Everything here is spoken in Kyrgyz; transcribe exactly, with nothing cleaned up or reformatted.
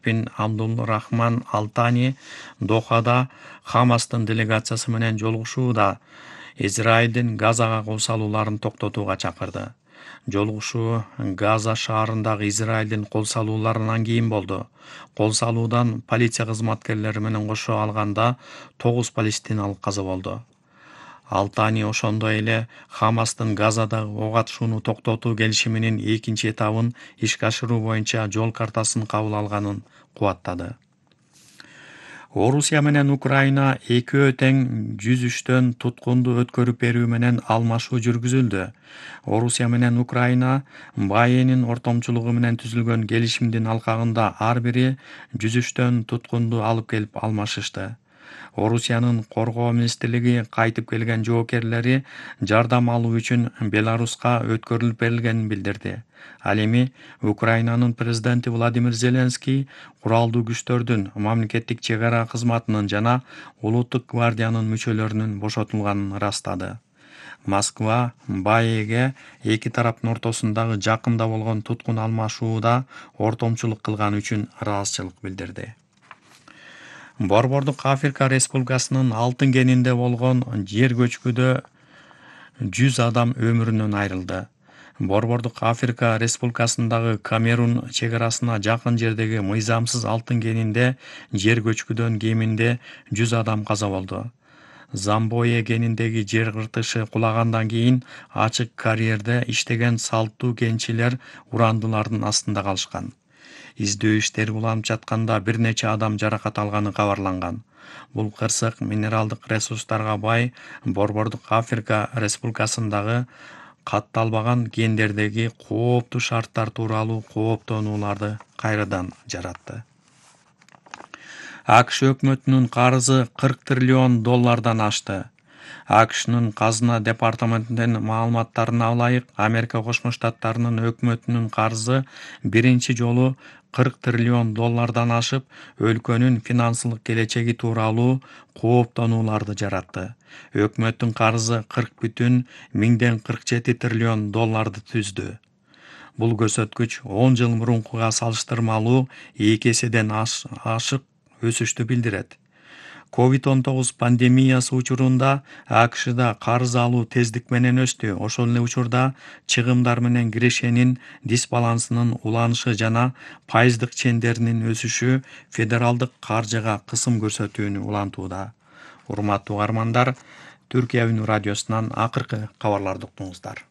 бин Абдулрахман Алтани Дохада Хамастын делегациясы менен жолугушууда Израилдин Газага кол салууларын токтотууга чакырды. Жолугушуу Газа шаарындагы Израилдин кол салууларынан кийин болду. Кол салуудан полиция кызматкерлери менен кошо алганда тогуз палестиналык каза болду. Алтани ошондой эле Хамастын Газадагы ок атышууну токтотуу келишиминин экинчи этабын ишке ашыруу боюнча жол картасын кабыл алганын кубаттады. Орусия менен Украина экөө тең жүз үчтөн туткунду өткөрүп берүү менен алмашуу жүргүзүлдү. Орусия менен Украина Байенин ортомчулугу менен түзүлгөн келишимдин алкагында ар бири жүз үчтөн туткунду алып келип алмашышты. Орусиянын коргоо министрлиги кайтып келген жоокерлери жардам алуу үчүн Беларуска өткөрүлүп берилгенин билдирди. Ал эми Украинанын президенти Владимир Зеленский куралдуу күчтөрдүн, мамлекеттик чек ара кызматынын жана улуттук гвардиянын мүчөлөрүнүн бошотулганын ырастады. Москва Баеге эки тараптын ортосундагы жакында болгон туткун алмашууда ортомчулук кылганы үчүн ыраазычылык билдирди. Борбордук Африка Республикасынын Алтын кенинде болгон жер көчкүдө жүз адам өмүрүнөн айрылды. Борбордук Африка Республикасындагы Камерун чек арасына жакын жердеги мыйзамсыз алтын кенинде жер көчкүдөн кеминде жүз адам каза болду. Замбое кениндеги жер кыртышы кулагандан кийин ачык карьерде иштеген салттуу кенчилер урандылардын астында калышкан. Издөө иштери уланып жатканда бир нече адам жаракат алганы кабарланган. Бул кырсык минералдык ресурстарга бай Борбордук Африка Республикасындагы катталбаган кендердеги кооптуу шарттар тууралуу кооптонууларды кайрадан жаратты. АКШ өкмөтүнүн карызы кырк триллион доллардан ашты. АКШнын казына департаментинин маалыматтарына ылайык, Америка Кошмо Штаттарынын өкмөтүнүн карызы биринчи жолу кырк триллион доллардан ашып, өлкөнүн финансылык келечеги тууралуу кооптонууларды жаратты. Өкмөттүн карызы кырк бүтүн миңден кырк жети триллион долларды түздү. Бул көрсөткүч он жыл мурункуга салыштырмалуу эки эседен ашык өсүштү билдирет. ковид он тогуз пандемиясы учурунда АКШда карыз алуу тездик менен өстү. Ошол эле учурда чыгымдар менен кирешенин дисбалансынын уланышы жана пайыздык чендеринин өсүшү федералдык каржыга кысым көрсөтүүнү улантууда. Урматтуу угармандар, Түркия Үнү радиосунан акыркы кабарларды уктуңуздар.